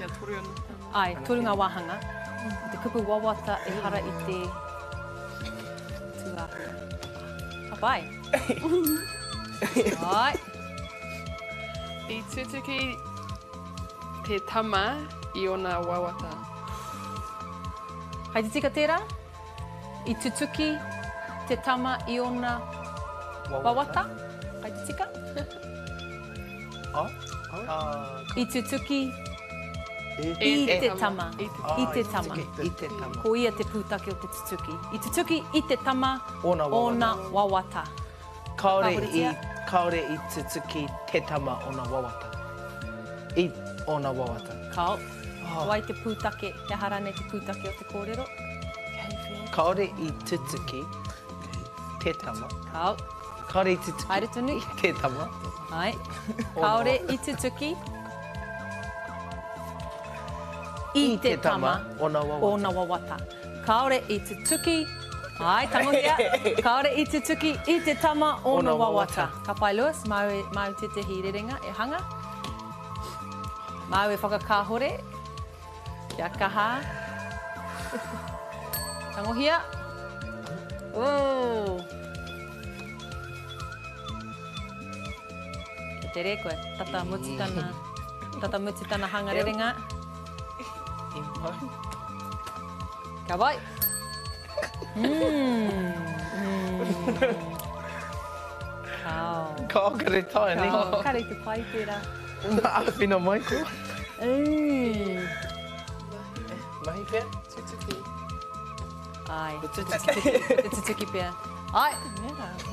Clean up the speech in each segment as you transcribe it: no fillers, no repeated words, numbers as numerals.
Kia toru anō. Āe, toru ngā wāhanga. Ko te kupu wawata ehara i te tūāhua. Ka pai. Āe. I tutuki te tama i ōna wawata. Kai te tika tērā? I tutuki te tama i ōna wawata? Kai te tika? I tutuki i te tama. I te tama. Ko ia te pūtake o te tutuki. I tutuki i te tama ōna wawata. Kāore i, kāore i tutuki te tama ōna wawata. I ōna wawata. Kāo. Ko wai te pūtake, he aha rānei te pūtake o te kōrero? Kāore i tutuki te tama. Kāo. Kāore i tutuki. Haere tonu. Te tama. Āe. Kāore i tutuki i te tama ōna wawata. Kāore i tutuki, āe, tangohia, kāore i tutuki i te tama ōna wawata. Ka pai Lewis, māu e, māu tētehi rerenga e hanga. Māu e whakakāhore. Kia kaha. Tangohia. Ooh. Kia tere koe, tata mutu tana, tata mutu tana hanga rerenga. I mau. Ka pai. Mm. Mm. Kao. Kao, kare tae, ne? Kao, kare te pai tērā. Āwhina mai koa. Mm. Mahi pea? Tutuki. Ai. Ko tutuki. Ko te tutuki pea. Ai.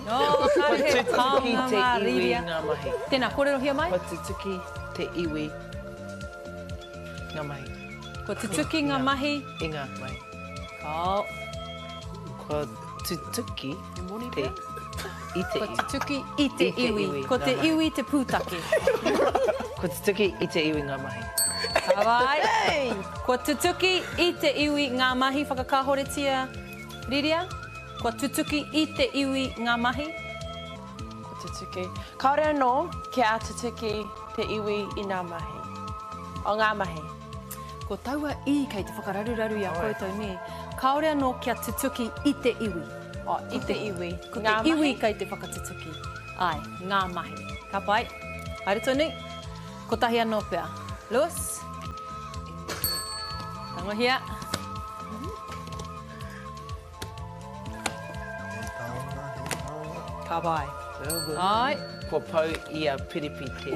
No, kāre he taonga mā Rīria. Ko tutuki te iwi ngā mahi. Tēnā, kōrerohia mai. Ko tutuki te iwi ngā mahi. Kua tutuki ngā mahi. I ngā mahi. Kao. Kua tutuki te i te iwi. Kua tutuki i te iwi. Ko te iwi te pūtake. Kua tutuki i te iwi ngā mahi. Ka pai. Kua tutuki i te iwi ngā mahi. Whakakāhoretia, Riria. Kua tutuki i te iwi ngā mahi. Kua tutuki. Kāore anō kia tutuki te iwi i ngā mahi. O ngā mahi. Ko taua i kei te whakararuraru i a koutou, nē? Kāore anō kia tutuki i te iwi. Oh, i te iwi. Ko te iwi kei te whakatutuki. Āe, ngā mahi. Ka pai. Haere tonu. Kotahi anō pea. Lewis? Tangohia. He taonga, he taonga. Ka pai. Āe. Kua pau i a Piripi te.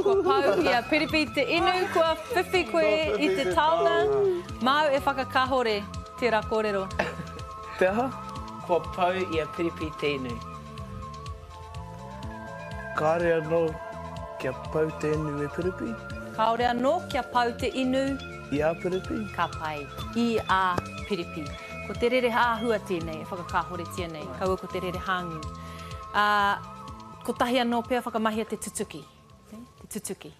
Kua pau i a Piripi te inu, kua whiwhi koe i te taonga. Māu e whakakahore tērā kōrero. Te aha? Kua pau i a Piripi te inu. Kāore anō kia pau te inu e Piripi. Kāore anō kia pau te inu. I a Piripi. Ka pai. I a Piripi. Ko te rere āhua tēnei e whakakāhoretia nei, kaua ko te rere hāngū. Ā, kotahi anō pea whakamahia te tutuki. Te tutuki.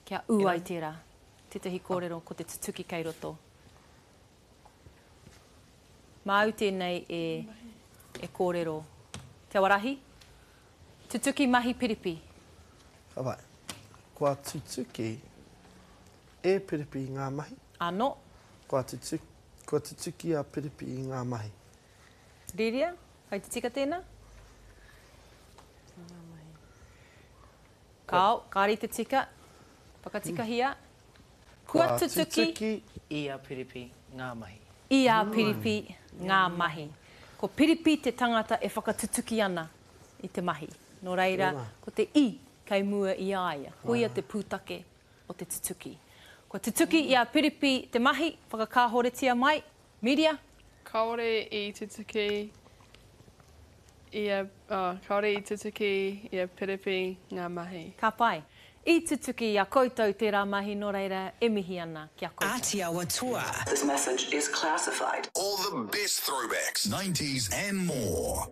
Kia ū ai tērā. Tētahi kōrero ko te tutuki kei roto. Māu tēnei e, e kōrero. Te Awarahi, Tutuki mahi piripi. Ka pai. Kua tutuki e Piripi ngā mahi. Ano. Kua tutuki, kua tutuki a Piripi i ngā mahi. Riria, Kei te tika tēnā? Ngā mahi. Kāo, kāre i te tika. Whakatikahia. Kua tutuki. I a Piripi ngā mahi. I a Piripi ngā mahi. Ko Piripi te tangata e whakatutuki ana i te mahi. Nō reira, ko te i kei mua i a ia. Koia te pūtake o te tutuki. Kua tutuki i a Piripi te mahi, whakakāhoretia mai, Miria. Kāore i tutuki i a, oh, kāore i tutuki i a Piripi ngā mahi. Ka pai. I tutuki i a koutou tērā mahi nō reira e mihi ana ki a koutou. Ātiawa Toa. This message is classified. All the best throwbacks, nineties and more.